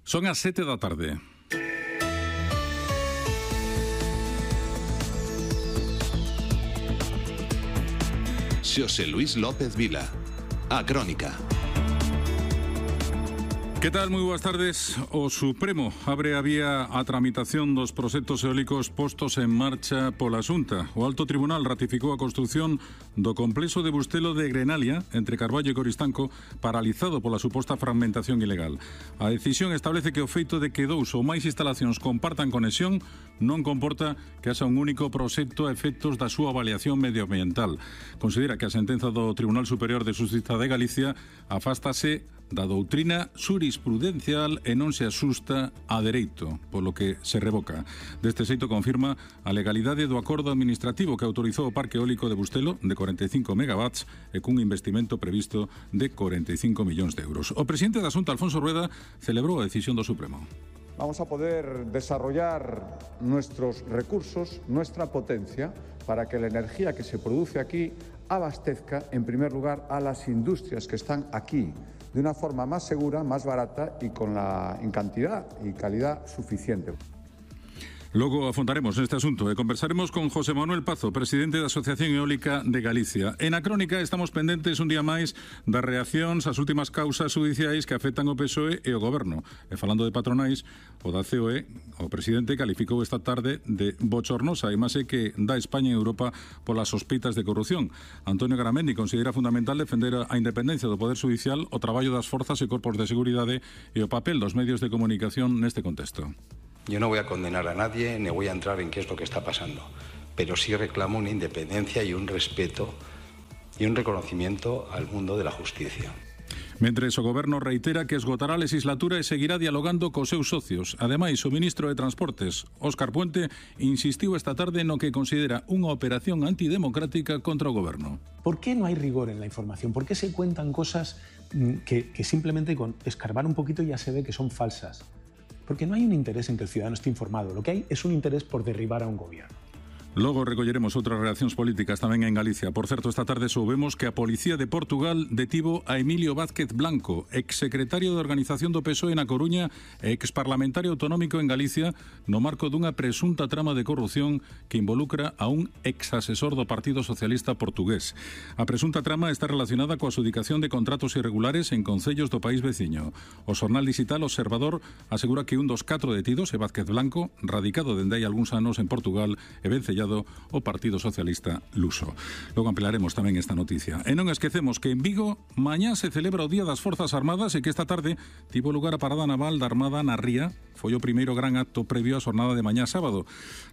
Son as 7 da tarde. Xosé Luís López Vila, a Crónica. Que tal? Moi boas tardes. O Supremo abre a vía a tramitación dos proxectos eólicos postos en marcha pola Xunta. O Alto Tribunal ratificou a construción do complexo de Bustelo de Grenalia, entre Carballo e Coristanco, paralizado pola suposta fragmentación ilegal. A decisión establece que o feito de que dous ou máis instalacións compartan conexión non comporta que haxa un único proxecto a efectos da súa avaliación medioambiental. Considera que a sentenza do Tribunal Superior de Xustiza de Galicia afástase da doutrina xurisprudencial e non se asusta a dereito, polo que se revoca. Deste xeito confirma a legalidade do acordo administrativo que autorizou o parque eólico de Bustelo de 45 megawatts e cun investimento previsto de 45 millóns de euros. O presidente da Xunta, Alfonso Rueda, celebrou a decisión do Supremo. Vamos a poder desarrollar nuestros recursos, nuestra potencia, para que la energía que se produce aquí abastezca, en primer lugar, a las industrias que están aquí, de una forma más segura, más barata y en cantidad y calidad suficiente. Logo afondaremos neste asunto e conversaremos con José Manuel Pazo, presidente da Asociación Eólica de Galicia. En a Crónica estamos pendentes un día máis das reaccións ás últimas causas judiciais que afectan o PSOE e o Goberno. E falando de patronais, o da COE, o presidente calificou esta tarde de bochornosa a imaxe que dá España e Europa polas sospeitas de corrupción. Antonio Garamendi considera fundamental defender a independencia do Poder Judicial, o traballo das forzas e corpos de seguridade e o papel dos medios de comunicación neste contexto. Yo no voy a condenar a nadie, ni voy a entrar en qué es lo que está pasando, pero sí reclamo una independencia y un respeto y un reconocimiento al mundo de la justicia. Mentres o Goberno reitera que esgotará a legislatura e seguirá dialogando cos seus socios. Ademais, o ministro de Transportes, Óscar Puente, insistiu esta tarde no que considera unha operación antidemocrática contra o Goberno. ¿Por qué no hay rigor en la información? ¿Por qué se cuentan cosas que simplemente con escarbar un poquito ya se ve que son falsas? Porque no hay un interés en que el ciudadano esté informado. Lo que hay es un interés por derribar a un gobierno. Logo recolleremos outras reaccións políticas tamén en Galicia. Por certo, esta tarde soubemos que a Policía de Portugal detivo a Emilio Vázquez Blanco, exsecretario de Organización do PSOE na Coruña e exparlamentario autonómico en Galicia, no marco dunha presunta trama de corrupción que involucra a un exasesor do Partido Socialista portugués. A presunta trama está relacionada coa adxudicación de contratos irregulares en concellos do país veciño. O xornal digital Observador asegura que un dos 4 detidos é Vázquez Blanco, radicado dende hai algúns anos en Portugal e vencellado o Partido Socialista luso. Logo ampliaremos tamén esta noticia. E non esquecemos que en Vigo mañá se celebra o Día das Forzas Armadas e que esta tarde tivo lugar a parada naval da Armada na Ría. Foi o primeiro gran acto previo á xornada de mañá sábado.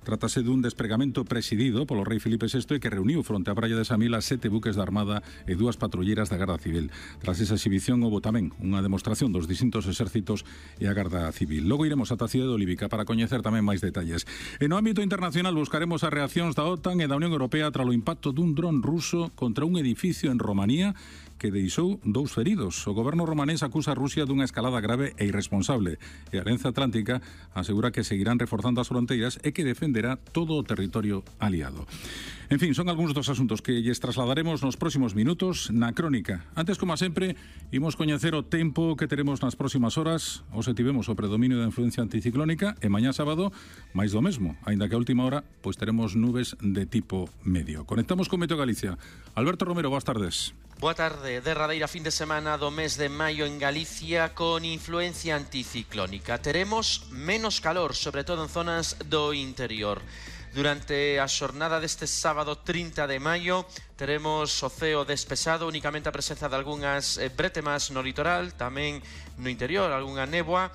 Trátase dun despregamento presidido polo rei Filipe VI que reuniu fronte á praia de Samil a 7 buques da Armada e 2 patrulleiras da Garda Civil. Tras esa exhibición houbo tamén unha demostración dos distintos exércitos e a Garda Civil. Logo iremos ata a cidade de Olívica para coñecer tamén máis detalles. E no ámbito internacional buscaremos a reaccións da OTAN e da Unión Europea tras o impacto dun dron ruso contra un edificio en Romanía que deixou 2 feridos. O goberno romanés acusa a Rusia dunha escalada grave e irresponsable e a Alianza Atlántica asegura que seguirán reforzando as fronteiras e que defenderá todo o territorio aliado. En fin, son algúns dos asuntos que lles trasladaremos nos próximos minutos na Crónica. Antes, como sempre, imos coñecer o tempo que teremos nas próximas horas. Hoxe tivemos o predominio da influencia anticiclónica e mañá sábado máis do mesmo, aínda que a última hora pois teremos nubes de tipo medio. Conectamos con Meteo Galicia. Alberto Romero, boas tardes. Boa tarde. Derradeira fin de semana do mes de maio en Galicia con influencia anticiclónica. Teremos menos calor, sobre todo en zonas do interior. Durante a xornada deste sábado 30 de maio teremos o ceo despexado, únicamente a presenza de algunhas bretemas no litoral, tamén no interior, algunha néboa.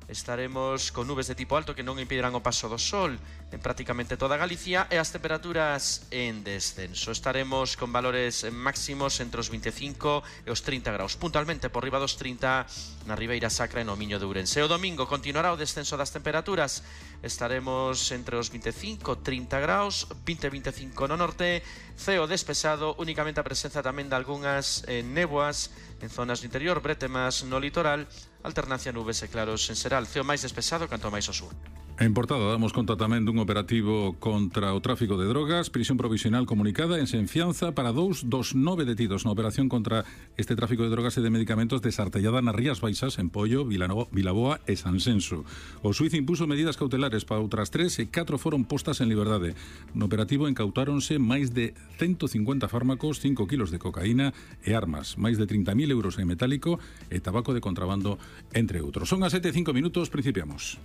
Estaremos con nubes de tipo alto que non impedirán o paso do sol en prácticamente toda Galicia e as temperaturas en descenso. Estaremos con valores máximos entre os 25 e os 30 graus, puntualmente por riba dos 30 na Ribeira Sacra e no Miño de Ourense. O domingo continuará o descenso das temperaturas. Estaremos entre os 25 e 30 graus, 20-25 no norte, ceo despexado, únicamente a presenza tamén de algunhas néboas en zonas do interior, bretemas no litoral, alternancia nubes e claros en xeral, ceo máis despexado canto máis ao sur. En Portada damos conta tamén dun operativo contra o tráfico de drogas, prisión provisional comunicada en sen fianza para 2 dos 9 detidos na operación contra este tráfico de drogas e de medicamentos desartellada nas Rías Baixas, en Pollo, Vilaboa e Sanxenxo. O xuiz impuso medidas cautelares para outras 3 e 4 foron postas en liberdade. No operativo incautáronse máis de 150 fármacos, 5 kilos de cocaína e armas, máis de 30.000 euros en metálico e tabaco de contrabando, entre outros. Son as 7:05, principiamos.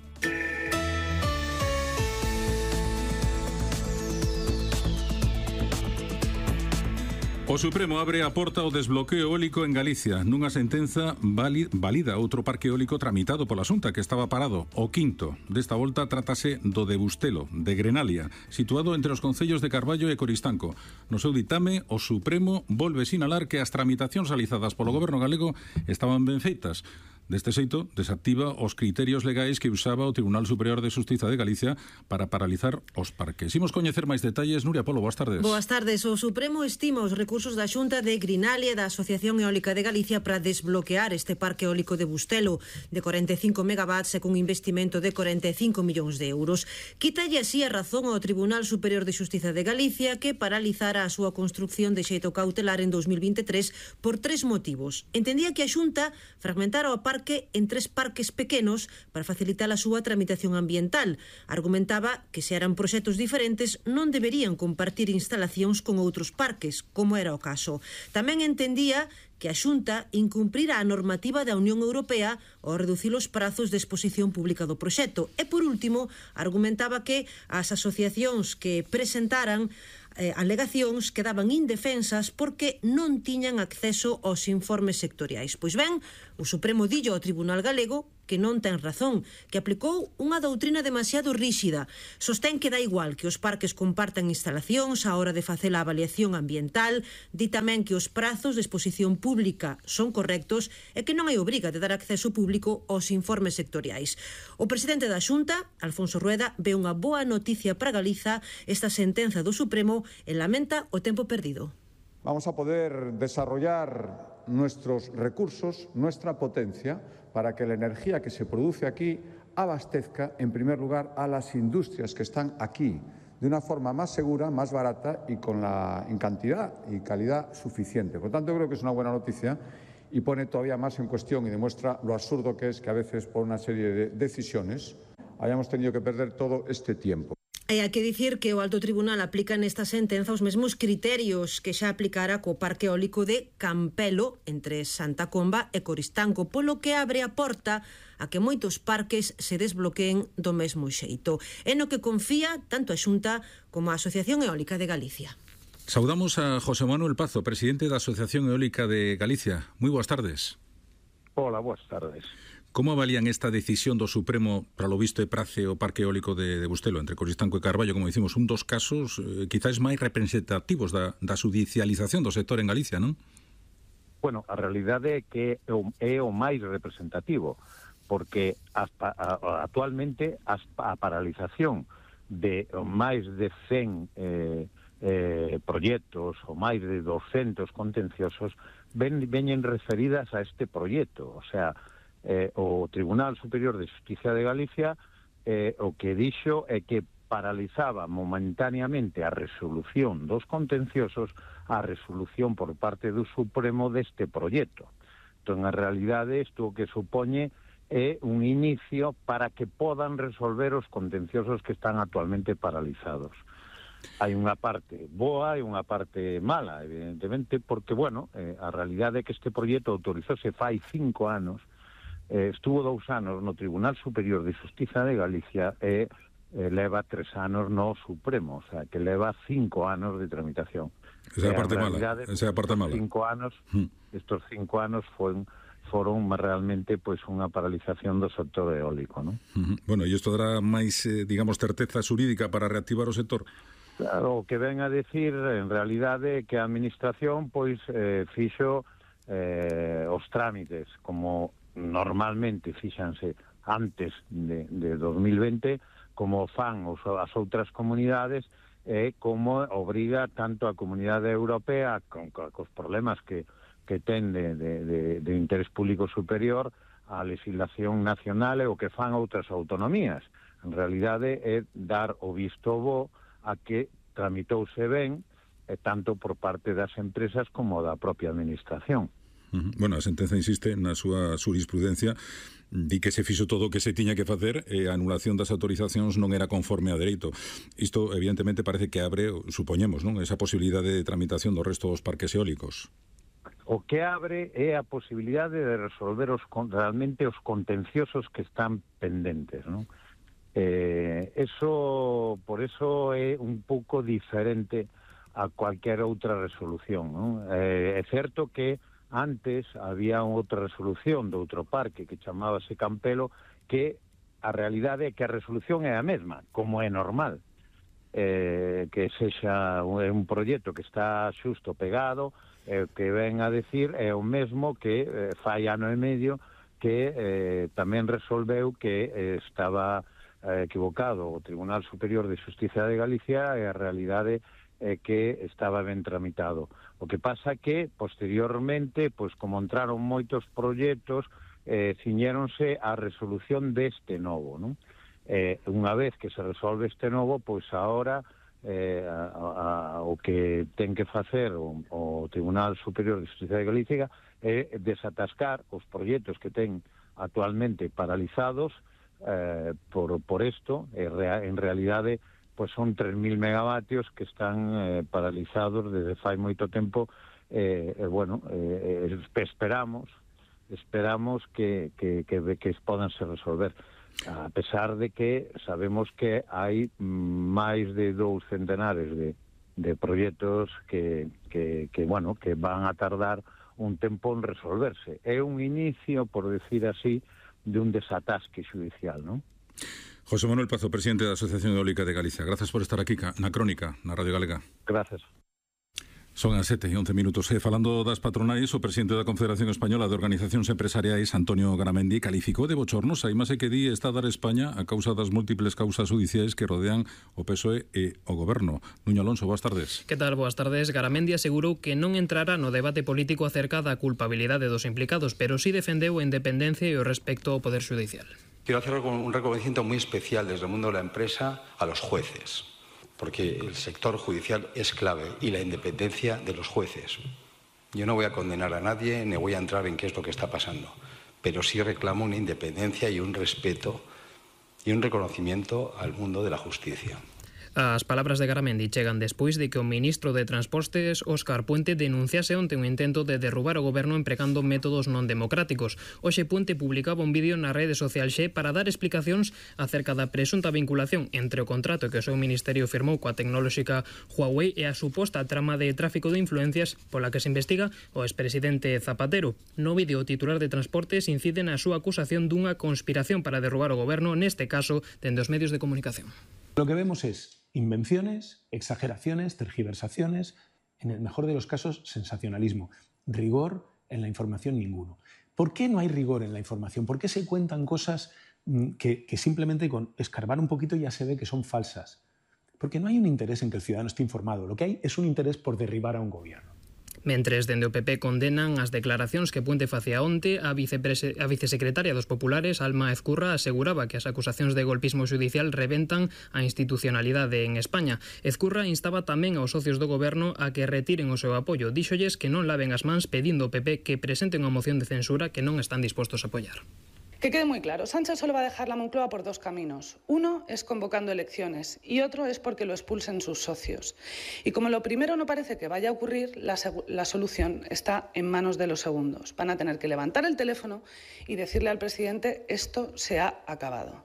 O Supremo abre a porta ao desbloqueo eólico en Galicia nunha sentenza válida outro parque eólico tramitado pola Xunta que estaba parado, o quinto. Desta volta trátase do de Bustelo, de Grenalia, situado entre os concellos de Carballo e Coristanco. No seu ditame, o Supremo volve sinalar que as tramitacións realizadas polo goberno galego estaban ben feitas. Deste xeito, desactiva os criterios legais que usaba o Tribunal Superior de Xustiza de Galicia para paralizar os parques. Imos coñecer máis detalles. Nuria Polo, boas tardes. Boas tardes. O Supremo estima os recursos da Xunta de Grinalia e da Asociación Eólica de Galicia para desbloquear este parque eólico de Bustelo de 45 megawatts e cun investimento de 45 millóns de euros. Quítalle así a razón ao Tribunal Superior de Xustiza de Galicia que paralizara a súa construcción de xeito cautelar en 2023 por 3 motivos. Entendía que a Xunta fragmentara o parque en 3 parques pequenos para facilitar a súa tramitación ambiental. Argumentaba que se eran proxectos diferentes non deberían compartir instalacións con outros parques, como era o caso. Tamén entendía que a Xunta incumprira a normativa da Unión Europea ao reducir os prazos de exposición pública do proxecto. E, por último, argumentaba que as asociacións que presentaran alegacións quedaban indefensas porque non tiñan acceso aos informes sectoriais. Pois ben, o Supremo dillo ao Tribunal Galego que non ten razón, que aplicou unha doutrina demasiado ríxida. Sostén que dá igual que os parques compartan instalacións á hora de facer a avaliación ambiental, di tamén que os prazos de exposición pública son correctos e que non hai obriga de dar acceso público aos informes sectoriais. O presidente da Xunta, Alfonso Rueda, ve unha boa noticia para Galiza esta sentenza do Supremo e lamenta o tempo perdido. Vamos a poder desarrollar nuestros recursos, nuestra potencia, para que la energía que se produce aquí abastezca, en primer lugar, a las industrias que están aquí, de una forma más segura, más barata y en cantidad y calidad suficiente. Por tanto, creo que es una buena noticia y pone todavía más en cuestión y demuestra lo absurdo que es que a veces, por una serie de decisiones, hayamos tenido que perder todo este tiempo. E hai que dicir que o Alto Tribunal aplica nesta sentenza os mesmos criterios que xa aplicara co parque eólico de Campelo entre Santa Comba e Coristanco, polo que abre a porta a que moitos parques se desbloqueen do mesmo xeito. É no que confía tanto a Xunta como a Asociación Eólica de Galicia. Saudamos a José Manuel Pazo, presidente da Asociación Eólica de Galicia. Moi boas tardes. Hola, boas tardes. Como avalían esta decisión do Supremo para lo visto e prace o parque eólico de Bustelo entre Coristanco e Carballo, como dicimos, un dos casos quizás máis representativos da judicialización do sector en Galicia, non? Bueno, a realidade é que é o máis representativo, porque actualmente a paralización de máis de 100 proxectos ou máis de 200 contenciosos veñen referidas a este proxecto, o sea, o Tribunal Superior de Xustiza de Galicia o que dixo é que paralizaba momentáneamente a resolución dos contenciosos a resolución por parte do Supremo deste proxecto. Entón, a realidade, isto que supoñe é un inicio para que podan resolver os contenciosos que están actualmente paralizados. Hai unha parte boa e unha parte mala, evidentemente, porque, bueno, a realidade é que este proxecto autorizóse fai 5 anos, estuvo 2 anos no Tribunal Superior de Xustiza de Galicia e leva 3 anos no Supremo, o sea, que leva 5 anos de tramitación. Esa é a parte mala. Esa é a parte mala. Estos 5 anos foron realmente pois unha paralización do sector eólico, non? Bueno, e isto dará máis, digamos, certeza xurídica para reactivar o sector? Claro, o que ven a decir, en realidade, que a Administración pois fixo os trámites como normalmente fíxanse antes de 2020, como fan as outras comunidades, como obriga tanto a Comunidade Europea, cos problemas que ten de interés público superior, a legislación nacional e o que fan outras autonomías. En realidade é dar o visto bo a que tramitouse ben tanto por parte das empresas como da propia administración. Bueno, a sentenza insiste na súa jurisprudencia, di que se fixo todo o que se tiña que facer e a anulación das autorizacións non era conforme a dereito. Isto, evidentemente, parece que abre, supoñemos, non, esa posibilidade de tramitación do resto dos parques eólicos. O que abre é a posibilidade de resolver realmente os contenciosos que están pendentes, non? Por eso é un pouco diferente a cualquier outra resolución, non? É certo que antes había outra resolución de outro parque que chamábase Campelo, que a realidade é que a resolución é a mesma, como é normal, que sexa un proxecto que está xusto pegado, que ven a decir é o mesmo que fai ano e medio que tamén resolveu que estaba equivocado o Tribunal Superior de Xustiza de Galicia e a realidade que estaba ben tramitado. O que pasa que, posteriormente, pois como entraron moitos proxectos, ciñéronse a resolución deste novo, non? Unha vez que se resolve este novo, pois agora o que ten que facer o Tribunal Superior de Xustiza de Galicia é desatascar os proxectos que ten actualmente paralizados por isto. En realidade, pois son 3.000 megavatios que están paralizados desde fai moito tempo. Esperamos que podan se resolver, a pesar de que sabemos que hai máis de 2 centenares de proxectos que van a tardar un tempo en resolverse. É un inicio, por decir así, de un desatasque judicial, non? José Manuel Pazo, presidente da Asociación Eólica de Galicia. Gracias por estar aquí na Crónica, na Radio Galega. Gracias. Son as 7:11. Falando das patronais, o presidente da Confederación Española de Organizacións Empresariais, Antonio Garamendi, calificou de bochornosa a imaxe que di está a dar España a causa das múltiples causas judiciais que rodean o PSOE e o Goberno. Nuño Alonso, boas tardes. Que tal? Boas tardes. Garamendi asegurou que non entrará no debate político acerca da culpabilidade dos implicados, pero sí defendeu a independencia e o respecto ao Poder Judicial. Quiero hacer un reconocimiento muy especial desde el mundo de la empresa a los jueces, porque el sector judicial es clave y la independencia de los jueces. Yo no voy a condenar a nadie ni voy a entrar en qué es lo que está pasando, pero sí reclamo una independencia y un respeto y un reconocimiento al mundo de la justicia. As palabras de Garamendi chegan despois de que o ministro de Transportes, Óscar Puente, denunciase onte un intento de derrubar o goberno empregando métodos non democráticos. Hoxe Puente publicaba un vídeo na rede social Xe para dar explicacións acerca da presunta vinculación entre o contrato que o seu ministerio firmou coa tecnolóxica Huawei e a suposta trama de tráfico de influencias pola que se investiga o expresidente Zapatero. No vídeo, o titular de Transportes incide na súa acusación dunha conspiración para derrubar o goberno, neste caso, dende os medios de comunicación. Lo que vemos es invenciones, exageraciones, tergiversaciones, en el mejor de los casos, sensacionalismo. Rigor en la información ninguno. ¿Por qué no hay rigor en la información? ¿Por qué se cuentan cosas que simplemente con escarbar un poquito ya se ve que son falsas? Porque no hay un interés en que el ciudadano esté informado. Lo que hay es un interés por derribar a un gobierno. Mentres dende o PP condenan as declaracións que Puente facía onte, a vicesecretaria dos Populares, Alma Ezcurra, aseguraba que as acusacións de golpismo judicial reventan a institucionalidade en España. Ezcurra instaba tamén aos socios do goberno a que retiren o seu apoio. Díxolles que non laven as mans pedindo ao PP que presenten unha moción de censura que non están dispostos a apoiar. Que quede muy claro, Sánchez solo va a dejar la Moncloa por 2 caminos. Uno es convocando elecciones y otro es porque lo expulsen sus socios. Y como lo primero no parece que vaya a ocurrir, la solución está en manos de los segundos. Van a tener que levantar el teléfono y decirle al presidente esto se ha acabado.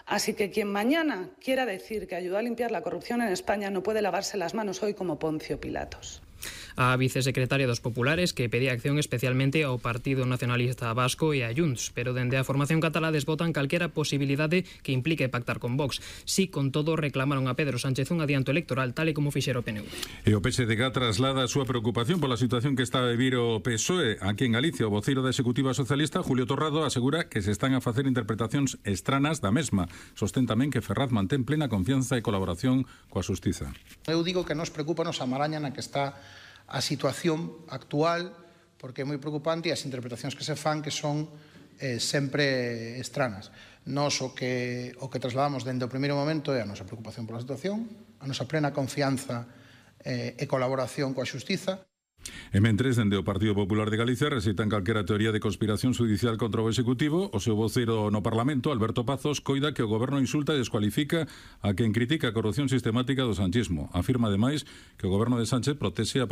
Así que quien mañana quiera decir que ayudó a limpiar la corrupción en España no puede lavarse las manos hoy como Poncio Pilatos. A vicesecretaria dos Populares que pedía acción especialmente ao Partido Nacionalista Vasco e a Junts, pero dende a formación catalá desbotan calquera posibilidade que implique pactar con Vox. Si, con todo, reclamaron a Pedro Sánchez un adianto electoral tal e como fixera o PNV. E o PSDG traslada a súa preocupación pola situación que está a vivir o PSOE aquí en Galicia. O voceiro da Executiva Socialista, Julio Torrado, asegura que se están a facer interpretacións estranas da mesma. Sostén tamén que Ferraz mantén plena confianza e colaboración coa Xustiza. Eu digo que nos preocupa a maraña na que está a situación actual, porque é moi preocupante e as interpretacións que se fan que son sempre estranas. Nós o que trasladamos dende o primeiro momento é a nosa preocupación pola situación, a nosa plena confianza e colaboración coa xustiza. E mentres, dende o Partido Popular de Galicia recitan calquera teoría de conspiración judicial contra o Executivo, o seu voceiro no Parlamento, Alberto Pazos, coida que o Goberno insulta e descualifica a quen critica a corrupción sistemática do sanchismo. Afirma, ademais, que o Goberno de Sánchez protexe a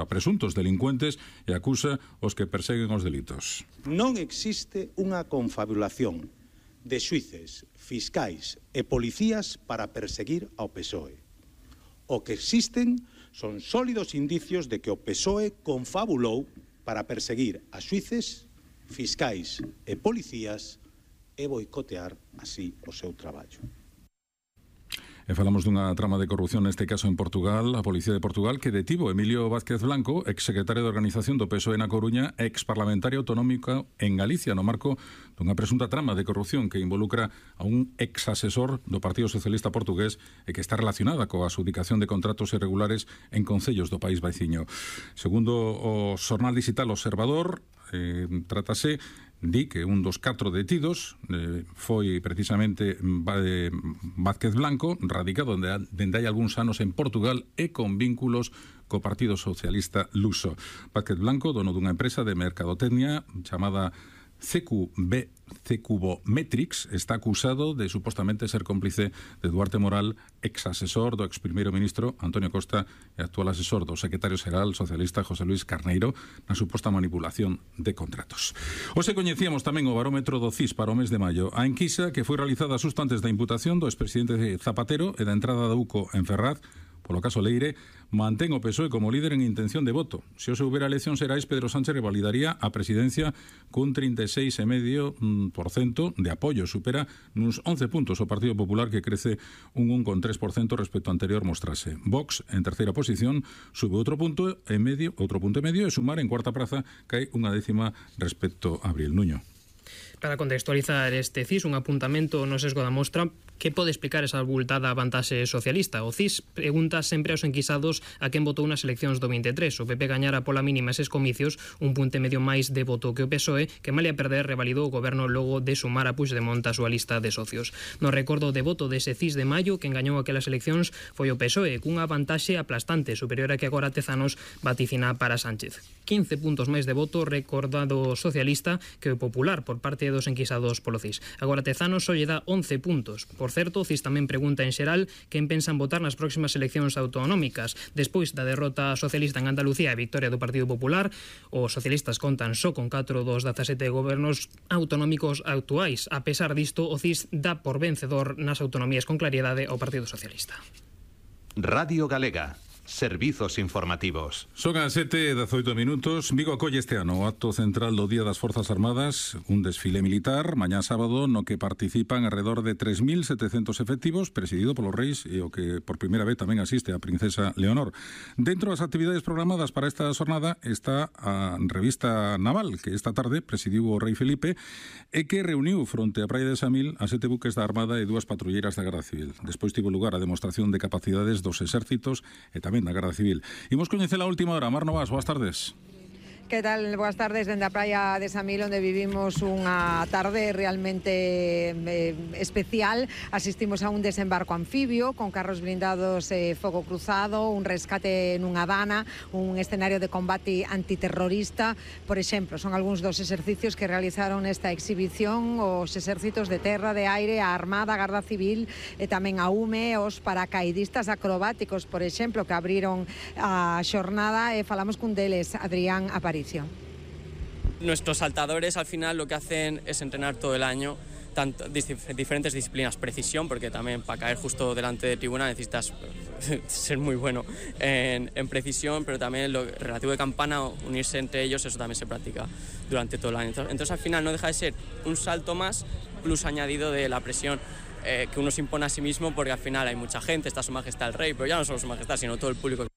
presuntos delincuentes e acusa os que perseguen os delitos. Non existe unha confabulación de xuíces, fiscais e policías para perseguir ao PSOE. O que existen son sólidos indicios de que o PSOE confabulou para perseguir a xuíces, fiscais e policías e boicotear así o seu traballo. E falamos dunha trama de corrupción, neste caso en Portugal, a Policía de Portugal, que detivo Emilio Vázquez Blanco, exsecretario de Organización do PSOE na Coruña, exparlamentario autonómico en Galicia, no marco dunha presunta trama de corrupción que involucra a un exasesor do Partido Socialista Portugués e que está relacionada coa adjudicación de contratos irregulares en concellos do país veciño. Segundo o xornal digital Observador, trátase di que un dos 4 detidos foi precisamente Vázquez Blanco, radicado dende hai algúns anos en Portugal e con vínculos co Partido Socialista Luso. Vázquez Blanco, dono dunha empresa de mercadotecnia chamada Cecubometrics, está acusado de supostamente ser cómplice de Duarte Moral, exasesor do ex primeiro ministro Antonio Costa e actual asesor do secretario xeral socialista José Luis Carneiro na suposta manipulación de contratos. Hoxe coñecíamos tamén o barómetro do CIS para o mes de maio. A enquisa que foi realizada xusto antes da imputación do expresidente Zapatero e da entrada da UCO en Ferraz polo caso Leire, mantén o PSOE como líder en intención de voto. Se hoxe houbera eleccións xerais, Pedro Sánchez revalidaría a presidencia cun 36,5% de apoio. Supera nuns 11 puntos o Partido Popular, que crece un 1,3% respecto ao anterior mostrase. Vox, en terceira posición, sube outro punto e medio e Sumar en cuarta praza cae unha décima respecto a Abril. Nuño. Para contextualizar este CIS, un apuntamento no sesgo da mostra, que pode explicar esa abultada vantaxe socialista? O CIS pregunta sempre aos enquisados a quen votou nas eleccións do 23. O PP gañara pola mínima eses comicios, un punto e medio máis de voto que o PSOE, que malia perder revalidou o goberno logo de Sumar a Puigdemont a súa lista de socios. No recordo de voto dese CIS de maio, quen gañou aquelas eleccións foi o PSOE, cunha vantaxe aplastante, superior a que agora Tezanos vaticina para Sánchez. 15 puntos máis de voto recordado socialista que o Popular por parte dos enquisados polo CIS. Agora Tezanos só lle dá 11 puntos. Por certo, o CIS tamén pregunta en xeral quen pensan votar nas próximas eleccións autonómicas. Despois da derrota socialista en Andalucía e a victoria do Partido Popular, os socialistas contan só con 4 dos 17 gobernos autonómicos actuais. A pesar disto, o CIS dá por vencedor nas autonomías con claridade ao Partido Socialista. Radio Galega. Servizos informativos. Son as 7:18 minutos. Vigo acolle este ano o acto central do Día das Forzas Armadas, un desfile militar mañá sábado no que participan alrededor de 3.700 efectivos, presidido polos reis e o que por primeira vez tamén asiste a princesa Leonor. Dentro das actividades programadas para esta xornada está a revista naval que esta tarde presidiu o rei Felipe e que reuniu fronte á praia de Samil a 7 buques da Armada e 2 patrulleiras da Garda Civil. Despois tivo lugar a demostración de capacidades dos exércitos e tamén da Garda Civil. Imos coñecer a última hora. Mar Novas, boas tardes. Que tal? Boas tardes dende a praia de Samil, onde vivimos unha tarde realmente especial. Asistimos a un desembarco anfibio con carros blindados e fogo cruzado, un rescate nunha dana, un escenario de combate antiterrorista. Por exemplo, son algúns dos exercicios que realizaron esta exhibición os exércitos de terra, de aire, a Armada, a Garda Civil e tamén a UME, os paracaidistas acrobáticos, por exemplo, que abriron a xornada e falamos cun deles, Adrián Aparicio. Nuestros saltadores al final lo que hacen es entrenar todo el año diferentes disciplinas, precisión, porque también para caer justo delante de tribuna necesitas ser muy bueno en precisión, pero también lo relativo de campana, unirse entre ellos, eso también se practica durante todo el año. Entonces al final no deja de ser un salto más, plus añadido de la presión que uno se impone a sí mismo, porque al final hay mucha gente, está Su Majestad el Rey, pero ya no solo Su Majestad, sino todo el público.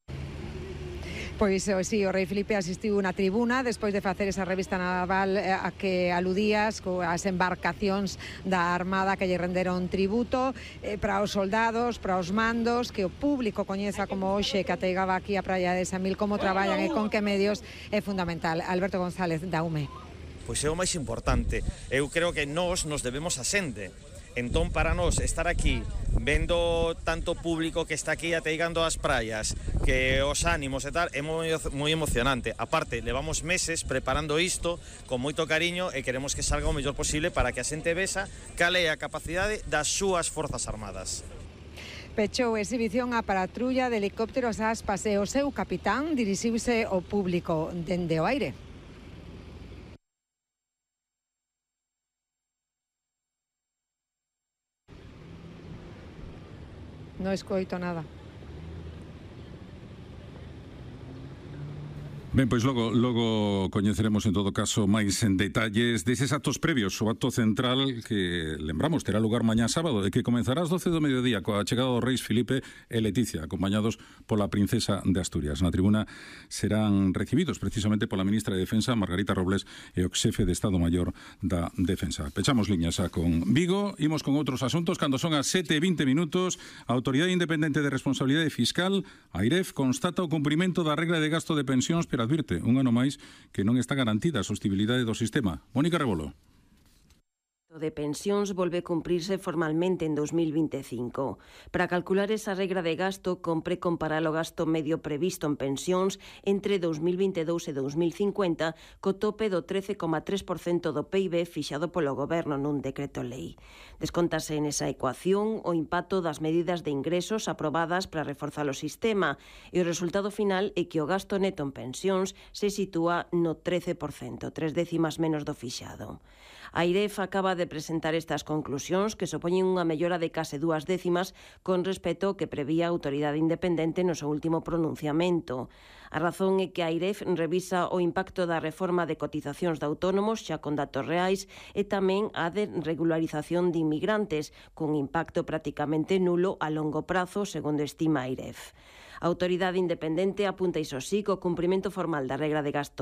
Pois sí, o rei Felipe asistiu na tribuna despois de facer esa revista naval a que aludías, coas embarcacións da Armada que lle renderon tributo, para os soldados, para os mandos, que o público coñeza como hoxe que ateigaba aquí a praia de Samil, como traballan e con que medios é fundamental. Alberto González, da UME. pois é o máis importante. Eu creo que nós nos debemos a xente. Entón, para nós, estar aquí vendo tanto público que está aquí ateigando as praias, que os ánimos e tal, é moi emocionante. Aparte, levamos meses preparando isto con moito cariño e queremos que salga o mellor posible para que a xente vexa cal é a capacidade das súas Forzas Armadas. Pechou exhibición a patrulla de helicópteros Aspas e o seu capitán dirixiuse ao público dende o aire. No escoito nada. Ben, pois logo coñeceremos en todo caso máis en detalles deses actos previos, o acto central que, lembramos, terá lugar mañá sábado e que comenzará ás 12 do mediodía coa chegada dos reis Filipe e Leticia, acompañados pola princesa de Asturias. Na tribuna serán recibidos precisamente pola ministra de Defensa, Margarita Robles, e o xefe de Estado Maior da Defensa. Pechamos liñas xa con Vigo, imos con outros asuntos cando son as 7:20 minutos. A Autoridade Independente de Responsabilidade Fiscal, AIREF, constata o cumprimento da regra de gasto de pensións, pero advirte un ano máis que non está garantida a sostibilidade do sistema. Mónica Rebolo. De pensións volve a cumprirse formalmente en 2025. Para calcular esa regra de gasto, compre comparar o gasto medio previsto en pensións entre 2022 e 2050 co tope do 13,3% do PIB fixado polo Goberno nun decreto lei. Descontase nesa ecuación o impacto das medidas de ingresos aprobadas para reforzar o sistema e o resultado final é que o gasto neto en pensións se sitúa no 13%, 3 décimas menos do fixado. A AIREF acaba de presentar estas conclusións que supoñen unha mellora de case 2 décimas con respecto ao que prevía a Autoridade Independente no seu último pronunciamento. A razón é que a AIREF revisa o impacto da reforma de cotizacións de autónomos xa con datos reais e tamén a de regularización de inmigrantes con impacto prácticamente nulo a longo prazo, segundo estima a AIREF. A Autoridade Independente apunta iso sí co cumprimento formal da regra de gasto